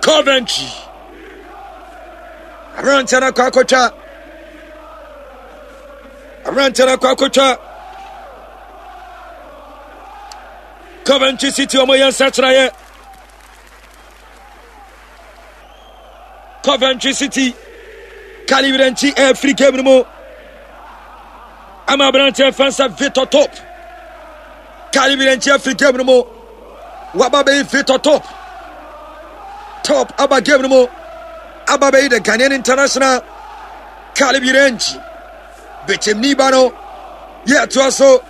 Coventry. Aberanteɛ no akɔ akɔtwa. Aberanteɛ no akɔ akɔtwa. Coventry City wɔn yɛ nsakyeraeɛ. Coventry City Kaliwirenkyi ɛfiri game no mu ama aberanteɛ fɛn sɛ Victor Top. Kaliwirenkyi afiri game no mu waba bɛyi Victor Top. Top aba game no mu aba bɛyi the Ghanaian international Kaliwirenkyi. Bɛkyɛmni ba no yɛ ɛtoa so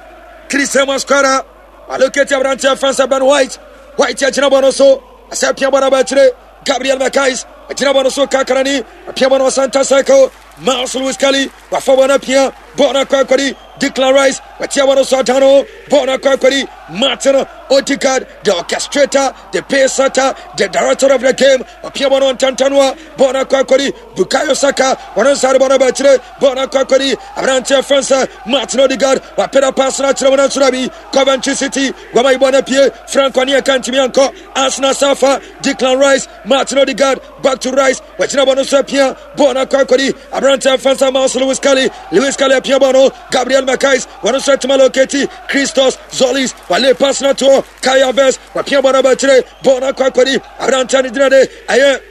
Christian Masquera aloketi aberanteɛ fɛn sɛ Ben White. White agyina bɔ no so asɛ pia bɔ no aba akyire. Gabriel Mackay agyina bɔ no so kakrani apia bɔ no center circle. Miles Lewis Kelly wafa bɔ no apia bɔɔl no akɔ akɔdi Declan Rice watia bɔ no so adan no bɔɔl no akɔ akɔdi Martin Odegaard, the orchestrator, the pace setter, the director of the game. Apia bɔ no ntantanoa bɔɔl no akɔ akɔdi Bukayo Saka wɔn nsa de bɔ no aba akyire bɔɔl no akɔ akɔdi aberanteɛ fɛn sɛ Martin Odegaard wapɛda pass no akyerɛ wɔn asoro bi Coventry City wɔn ayi bɔ no apue Frank Onyeka ntumi ankɔ Arsenal Safa Declan Rice Martin Odegaard back to Rice wɔgyina bɔ no so apia bɔɔl no akɔ akɔdi aberanteɛ fɛn sɛ Miles Lewis Kelly Lewis Kelly apia bɔɔl no Gabriel Mackay wɔn nso atuma loketi Christos Zolis wale pass no toɔ Kai Havertz wapia bɔɔl no aba akyire bɔɔl no akɔ akɔdi aberanteɛ no gyina de ɛyɛ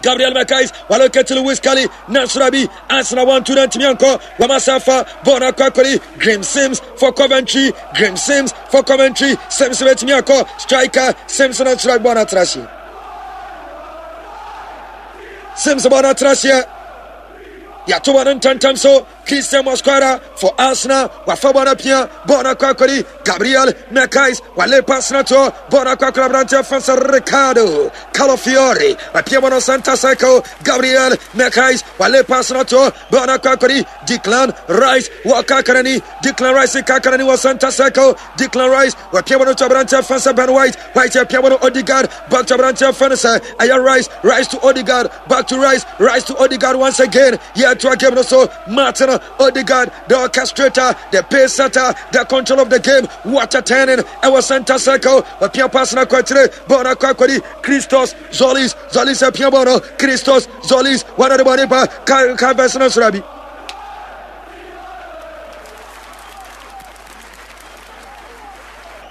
Gabriel Mackay waloketi Lewis Kelly Nasrabi Arsenal 1-2 na ntumi ankɔ wɔn asafa bɔɔl no akɔ akɔdi Graeme Sims for Coventry Graeme Sims for Coventry Sims bɛtumi akɔ striker Sims na nsoro bɔɔl no atra aseɛ Sims bɔɔl no atra aseɛ yɛato bɔɔl no ntɛntɛm so Christian Mosquera for Arsenal wafa bɔɔl no apia bɔɔl no akɔ akɔdi Gabriel Mackay wale pass no toɔ bɔɔl no akɔ akɔdi aberanteɛ fɛn sɛ Ricardo Calafiori apia bɔɔl no center circle Gabriel Mackay wale pass no toɔ bɔɔl no akɔ akɔdi Declan Rice wɔ kakarani Declan Rice kakarani wɔ center circle Declan Rice wapia bɔɔl no to aberanteɛ fɛn sɛ Ben White White apia bɔɔl no Odegaard back to aberanteɛ fɛn sɛ ɛyɛ Rice Rice to Odegaard back to Rice Rice to Odegaard once again yɛ to a game no so Martin Odegaard the orchestrator, the pace setter, the control of the game. What a turning! Our center circle. Wapia pass na kwakyire bɔɔl na kɔ akɔdi Christos Zolis Zolis apia bɔɔl no Christos Zolis wɔn de bɔɔl ne ba Kai Havertz no soro abi.